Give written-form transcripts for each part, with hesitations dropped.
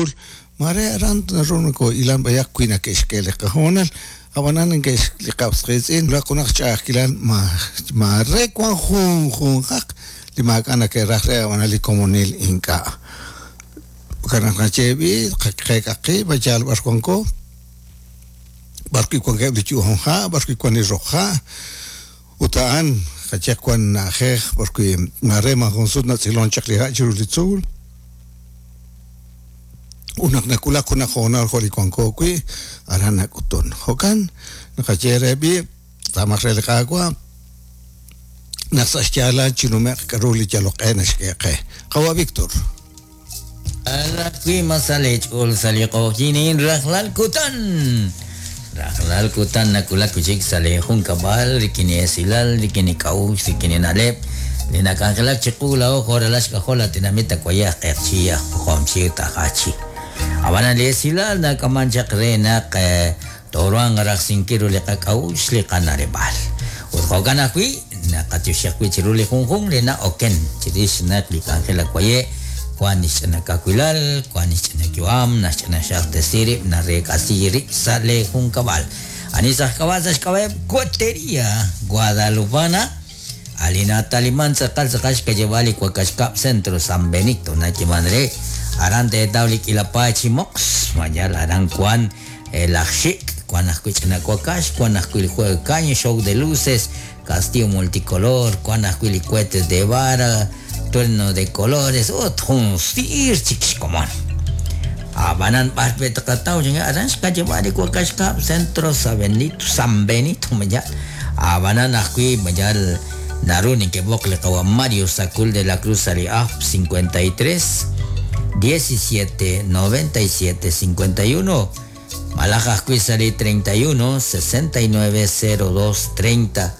tzuul, mare aran naru nakohilan b'ayaq wi nake'xk'e li qahoonal, ab'anan neke'x li qas qiitz'in wulak junaq xch'a'ajkilal maare wan junjunqaq li maak'a' nake'raj re ab'anan li komonil ink'a'. Jo'kan naq naxye b'i' qeek'aq qib' yaal b'ar wanko, b'ar wi' wankeb' li yu'am ha', b'ar wi' wan li roq ha', ut a'an qayehaq wan na'ajej b'ar wi' maare maajun sut natz'ilon chaq li ha' chiru li tzuul, ut naq nawulak junaq hoonal jo' li wanko wi', aran nak'utun. Jo'kan naqaye re b'i' tz'aamaq re li Qaawa' naq sa' xyaalal chinume'q k'aru li yalok q'e naxk'e qe. Qawa' Víctor. Alaq wi' ma sa' leech'ool sa' li q'oqyink rajlal kutan. Rajlal kutan nawulak wi' chik sa' leejunkab'al rik'in li esilal, rik'in li k'a'uxl, rik'in li na'leb' li nak'anjelak chiqu laa'o jo' ralal xk'ajol li tenamit Acuayaj, Q'eqchi, aj Pojomchi ut aj Achi. Ab'anan li esilal nak'aman chaq re naq tooruhanq rajsinkil ru li qak'a'uxl li qana'leb'aal. Ut jo'kan ajwi' naqatyoxi ajwi' chiru li junjunq li na'oken chirix naq li k'anjel Acuaye' wan li xch'ina kawilal, wan li xch'ina yu'am, naxch'ina xaqtesi rib', nareek'asi rib' sa' leejunkab'al. Ani sa' xk'ab'a' sa' xk'ab'a'eb' Cohetería Guadalupana, a li nataliman tz'aqal tz'aqal xkayeb'al li Wakax Kab' Centro San Benito nayeeman re, aran teetaw li k'iila paay chi moqs, mayal aran wan laj xik', wan ajwi' ch'ina wakax, wan ajwi' li juego de caña, show de luces, castillo multicolor, wan ajwi' li cohetes de vara, trueno de colores, ut jun siir chik xkomon. Ab'anan b'ar pe' tqataw aran xkayeb'al li Wakax Kab' Centro San Benito, San Benito mayal. Ab'anan ajwi' mayal naru neke'b'oq li qawa' Mario Sacul de la Cruz sa' li ajp 53 17 97 51 malaj ajwi' sa' li 31 69 02 30.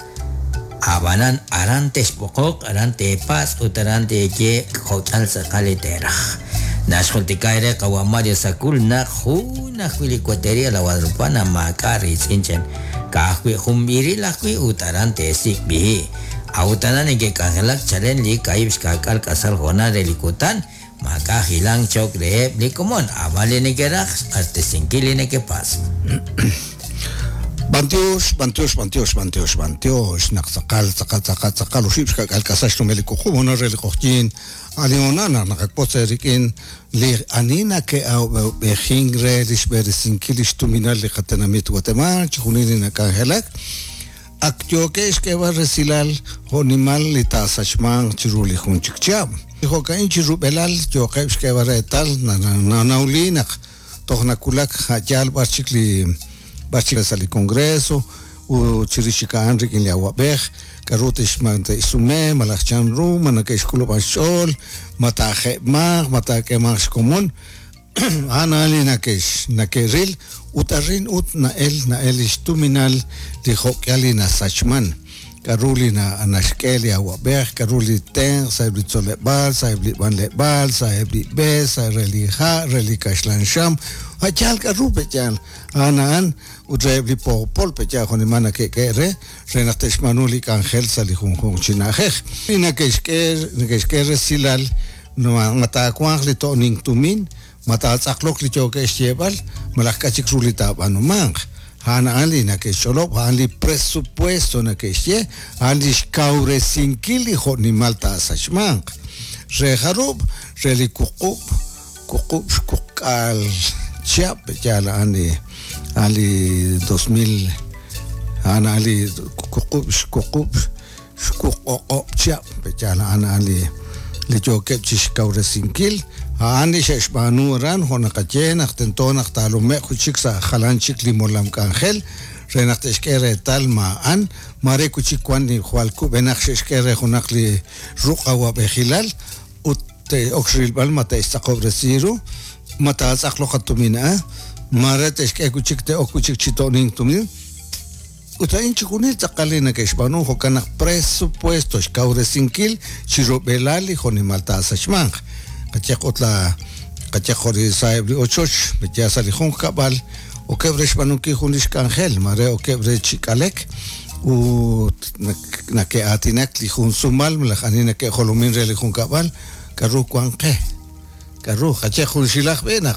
Ab'anan aran texb'oqoq, aran teepatz' ut aran teeye jo'k'al tz'aqal li teeraj. Naxjultika eere qawa' Mario Sacul naq jun ajwi' li Cohetería La Guadalupana maak'a' riitz'in chen. Ka'ajwi' jun b'iril ajwi' ut aran teesik' b'ihi'. A'ut aran neke'k'anjelak chalen li kaahib' xka'k'aal k'asal hoonal re li kutan, maak'a' hilank cho'q reheb' li komon, ab'an li neke'raj xq'axtesinkil li nekepatz'. B'antiox, b'antiox, b'antiox, b'antiox, b'antiox, naq tz'aqal, tz'aqal, tz'aqal, tz'aqal oxib' xka'k'aal k'asal xnumel li wuqub' hoonal re li q'oqyink, a' li hoonal naq naqak'otz eerik'in li ani nake'awab'ejink re li xb'eresinkil li xtuminal li qatenamit Guatemala, chixjunil li nak'anjelak, ak yookeb' xk'eeb'al resilal jo'nimal li taasachmanq chiru li jun chik chihab'. Jo'ka'in chi rub'elal yooqeb' xk'eeb'al reetal nanawli naq toj nawulak a' yaal b'ar chik li b'ar chik sa' li Congreso ut chirix chik a'an rik'in li awab'ej k'aru te'xsume malaj chanru ma nake'xk'ulub'a xch'ool, ma taaje'manq, ma taak'eemanq xkomon, a'an a'an li nake'x nake'ril ut arin ut na'el na'el li xtuminal li jo'k'ihal li nasachman, k'aru li naxk'e li awab'ej, k'aru li tenq' sa'eb' li tzoleb'aal, sa'eb' li b'anleb'aal, sa'eb' li b'e, sa' re li ha', re li kaxlan xam, a' yaal k'aru pe' yaal, a'an a'an ut reheb' li poopol pe' yaal jo'nimal nake'k'e re, re naq te'xb'aanu li k'anjel sa' li junjunq chi na'ajej. Li nake'xk'e nake'xk'e resilal ma taawanq li to'nink tumin, ma taatz'aqloq li yookeb' xyeeb'al malaj k'a' chik ru li taab'aanumanq. A'an a'an li nake'xch'olob', a'an li presupuesto nake'xye, a'an li xkawresinkil li jo'nimal taasachmanq. Re jarub', re li wuqub', wuqub' xwuqk'aal chihab' yaal a'an li a'an li 2000 a'an a'an li wuqub' xwuqub' xwuq o'q'ob' chihab' yaal a'an a'an li li yookeb' chixkawresinkil, a'an li xe'xb'aanu aran jo' naqaye naq tento naq taalume'q wi' chik sa' jalan chik li molam k'anjel re naq te'xk'e reetal ma a'an maare wi' chik wan li jwal kub'enaq xe'xk'e re junaq li ruq' awab'ejilal ut te'ok xrilb'al ma te'xtz'aqob'resi ru, ma taatz'aqloq a tumin a'an, maare te'xk'e wi' chik te'ok wi' chik chi to'nink tumin. Ut a'in chixjunil tz'aqal li nake'xb'aanu jo'kan naq presupuesto xkawresinkil chi rub'elal li jo'nimal taasachmanq. Qayehaq ut la qayehaq jo' li sa'eb' li ochoch, ya sa' li junqkab'al okeb' re xb'aanunkil jun li xk'anjel, maare okeb' re chi k'alek ut nake'aatinak li jun sumal malaj ani nake'jolomin re li junkab'al k'aru wan qe, k'aru qayehaq junxilaj b'e naq.